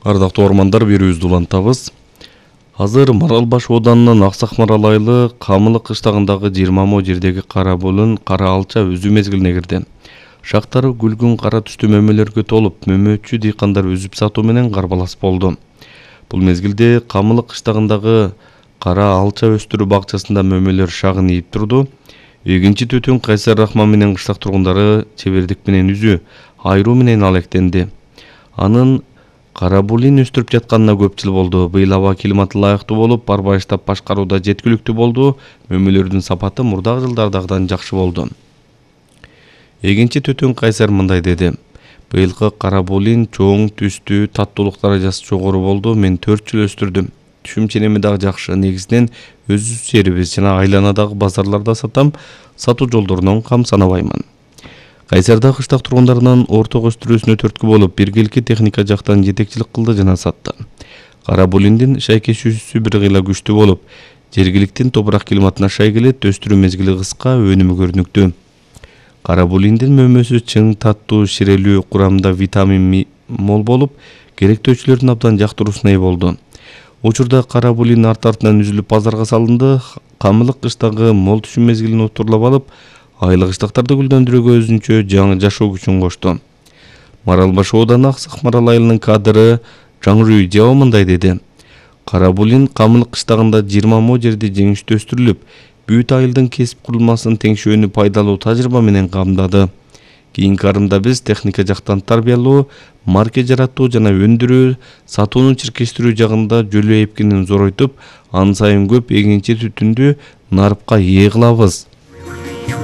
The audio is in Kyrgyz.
Ардактуу ормандар, берүүбүздү улантабыз. Азыр Марал Баш ооданынын Аксак Марал айылы Камылык кыштагындагы 20 мо жердеги кара булун кара алча өзүү мезгилине кирди. Шактары күлгүн кара түстүү мөмөлөргө толуп, мөмөчү дыйкандар үзүп сатуу менен карбалас болду. Бул мезгилде Камылык кыштагындагы кара алча өстүрүү бакчасында мөмөлөр шагын ийип турду. Эгинчи Төтөн Кайсар Рахман менен кыштак тургундары чебердик менен үзүү, айруу менен алектенди. Анын кара булин өстүрүп жатканына көп жыл болду. Быйыл аба климаты ылайыктуу болуп, арбайыштап башкарууда жеткиликтүү болду. Мөмөлөрдүн сапаты мурдагы жылдардагыдан жакшы болду. Эгинчи Төтөн Кайсар мындай деди: быйылкы кара булин чоң, түстүү, таттуулук даражасы жогору болду. Мен 4 жыл өстүрдүм. Түшүм ченеми дагы жакшы. Негизинен өзүбүз жерибиз жана айланадагы базарларда сатам. Сатуу жолдорунан кам санабаймын. Кайсарда кыштак тургундарынын орток өстүрүүсүнө түрткү болуп, биргеликки техника жактан жетекчилик кылды жана сатты. Кара булиндин шайкешүүсү бир кыйла күчтүү болуп, жергиликтин топурак климатына шай келет, өстүрүү мезгили кыска, өнүмү көрүнүктүү. Кара булиндин мөмөсү чың, таттуу, ширелүү, курамында витамин мол болуп, керектөөчүлөрдүн абдан жактыруусуна ээ болду. Учурда кара булин арт-артынан үзүлүп базарга салынды. Камылык кыштагы мол түшүм мезгилин отурлап алып, айыл кыштактарды гүлдөндүрүүгө өзүнчө жаңы жашоо күчүн кошту. Марал Баш ооданы Аксак Марал айылынын кадры Жаңырүй Жао мындай деди: кара булин Камылык кыштагында 20 мо жерде жеңиштүү өстүрүлүп, бүт айылдын кесип курулмасын теңшөөнү пайдалуу тажрыйба менен камдады. Кийинки арымда биз техника жактан тарбиялоо, марке жаратуу жана өндүрүү, сатууну чиркештирүү жагында жөлөө эпкинин зоройтуп, ан сайын көп эгинчи түтүндү нарыпка ээ кылабыз.